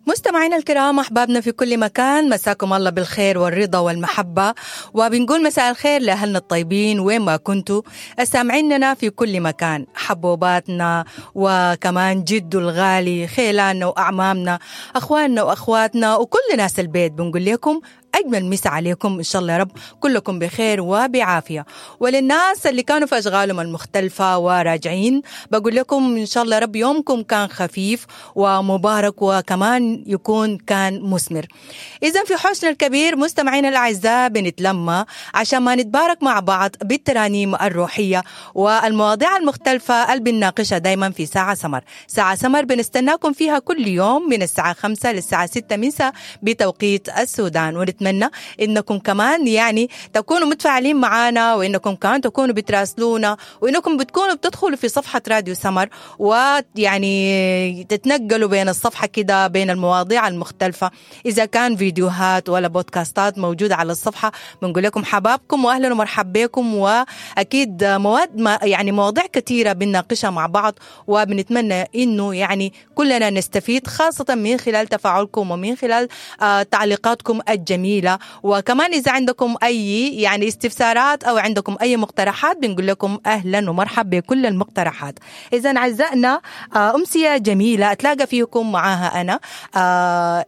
مستمعينا الكرام، احبابنا في كل مكان، مساكم الله بالخير والرضا والمحبه، وبنقول مساء الخير لاهلنا الطيبين وين ما كنتوا سامعيننا في كل مكان، حبوباتنا وكمان جدو الغالي، خيلاننا واعمامنا، اخواننا واخواتنا وكل ناس البيت. بنقول لكم أجمل مسا عليكم، إن شاء الله يا رب كلكم بخير وبعافية. وللناس اللي كانوا في أشغالهم المختلفة وراجعين، بقول لكم إن شاء الله يا رب يومكم كان خفيف ومبارك وكمان يكون كان مثمر. إذا في حوشنا الكبير مستمعينا الأعزاء بنتلمى عشان ما نتبارك مع بعض بالترانيم الروحية والمواضيع المختلفة اللي بنناقشها دايما في ساعة سمر. ساعة سمر بنستناكم فيها كل يوم من الساعة 5 للساعة 6 مساء بتوقيت السودان، ونتمنى انكم كمان يعني تكونوا متفاعلين معنا، وانكم كمان تكونوا بتراسلونا، وانكم بتكونوا بتدخلوا في صفحة راديو سمر ويعني تتنقلوا بين الصفحة كده بين المواضيع المختلفة، اذا كان فيديوهات ولا بودكاستات موجودة على الصفحة. بنقول لكم حبابكم واهلا ومرحبا بكم، واكيد مواد ما يعني مواضيع كثيرة بنناقشها مع بعض، وبنتمنى انه يعني كلنا نستفيد خاصة من خلال تفاعلكم ومن خلال تعليقاتكم الجميلة. وكمان إذا عندكم أي يعني استفسارات أو عندكم أي مقترحات بنقول لكم أهلا ومرحبا بكل المقترحات. إذا أعزائنا، أمسية جميلة أتلاقى فيكم معاها أنا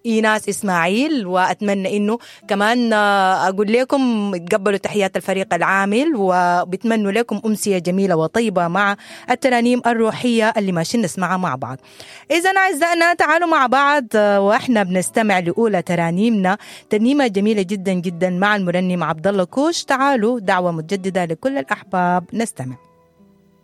إيناس إسماعيل، وأتمنى إنه كمان أقول لكم تقبلوا تحيات الفريق العامل، وبتمنوا لكم أمسية جميلة وطيبة مع الترانيم الروحية اللي ماشيين نسمعها مع بعض. إذا أعزائنا تعالوا مع بعض وإحنا بنستمع لأولى ترانيمنا، ترنيمة جميلة جدا جدا مع المرنم عبد الله كوش. تعالوا، دعوة متجددة لكل الأحباب، نستمع.